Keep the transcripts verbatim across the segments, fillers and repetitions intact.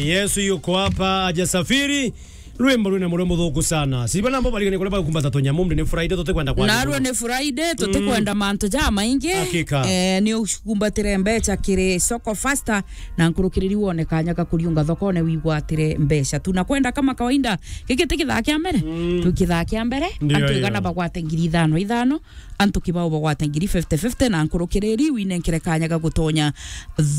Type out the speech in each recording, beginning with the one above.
Yesu yuko hapa, hajasafiri. Rwimbo rwina murio muthuku sana. Siba nambo barigane kuria bakumbata tunyamu, ni Friday, tutikwenda kwa. Narua ni Friday, tutikwenda mantu ja maingi. Hakika. Eh, ni ukumbatire mbeca kiri Soko Faster, na nkurukiriri wone kanya ga kuriunga thokone wigwatire mbeca. Tunakwenda kama kawaida, giki ti kithaa kia mbere? Mm. Tu kithaa kia mbere, ndio antu hiyo. Igana bagwate ngiri ithano ithano, antu kibao bagwate ngiri fifty fifty, na nkurukiriri winenkere kanya ga gutonya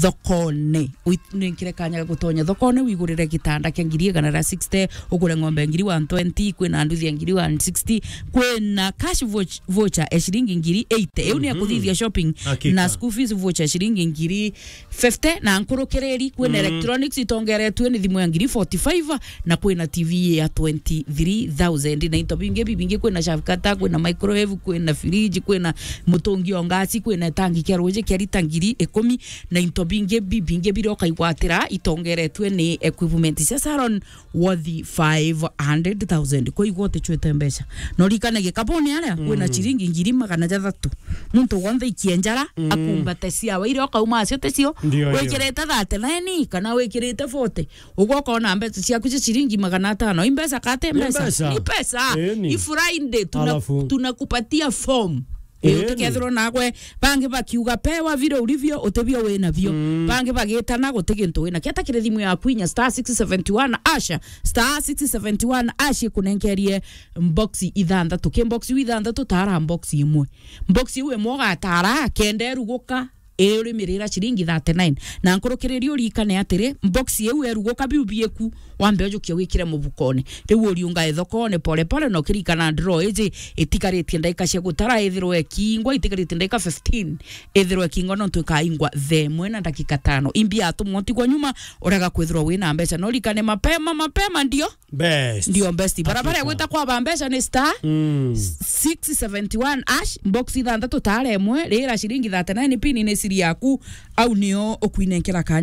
thokone. Winenkere kanya ga gutonya thokone, wigurire gitanda kia ngiri igana ria sixty, ugure ng'ombe ngiri one twenty, kwina nduthi ya ngiri one sixty, kwina cash vouch-, voucher ya ciringi ngiri eighty. Iu ni ya, mhm, kuthithia shopping. Hakika. Na school fees voucher ya ciringi ngiri fifty, na nkurukiriri kwina, mm, electronics itongeretue ni thimu ya ngiri forty-five, na kwina T V ya twenty-three thousand, na into bingi bibingi, kwina shavkata, kwina microwave, kwina fridge, kwina mutungi o ngasi, kwina tangi kia ruji kia rita ngiri ikumi, na into bingi bibingi biria ukaigwatira itongeretue ni equipment cia salon worth five hundred thousand. Kwa igwa utichwete mbeca. No rikane gikabone aria, mm, kwina ciringi ngiri magana jathatu. Muntu wonthe ikienjara, mm, akumbate ciawa iria ukauma acio ticio. Ndio, ndio. Wikirite thirty-nine kana wikirite forty. Ugwo ukona mbeca ciaku cia ciringi magana atano. I mbeca kate mbeca? Ni mbeca. Ni pesa. Eni. I Friday, tuna-, alafu, tunakupatia form. Eni. Utikethirwo nagwe, bangi bakiuga, "Pewa vile ulivyo, utibio wina bio." Mm. Bangi bagitana, guti gintu wina. Kieta kiri thimu yaku inya star six seventy one hash, star six seventy one hash ikunenkerie box ithanthatu. Ki box iu ithanthatu, tara box imwe. Box iu imwe ugatara, kenda iruguka, ii urimirira ciringi thirty-nine. Na nkurukiriria urikane atiri, box iu eruguka biu bieku, wambe ujukie wikire mubukone. Riu uriunga ithokone pole pole, na ukirikana draw iji itikaritie ndaika cia gutara, ithirwe ikingwa, itikaritie ndaika fifteen, ithirwe ikingwa nontu ikaingwa thaa imwe na ndagika tano. Imbi atumwa utigwa nyuma, urega kwithirwa wina mbeca. Na urikane mapema, mapema ndio best. Ndio best. Barabara ya, hakika, gwita kwa ba mbeca ni star, mm, six seventy one hash, box ithanthatu tara imwe, rira ciringi thirty-nine, pin ni siri yaku, au nio ukuinenkera kanya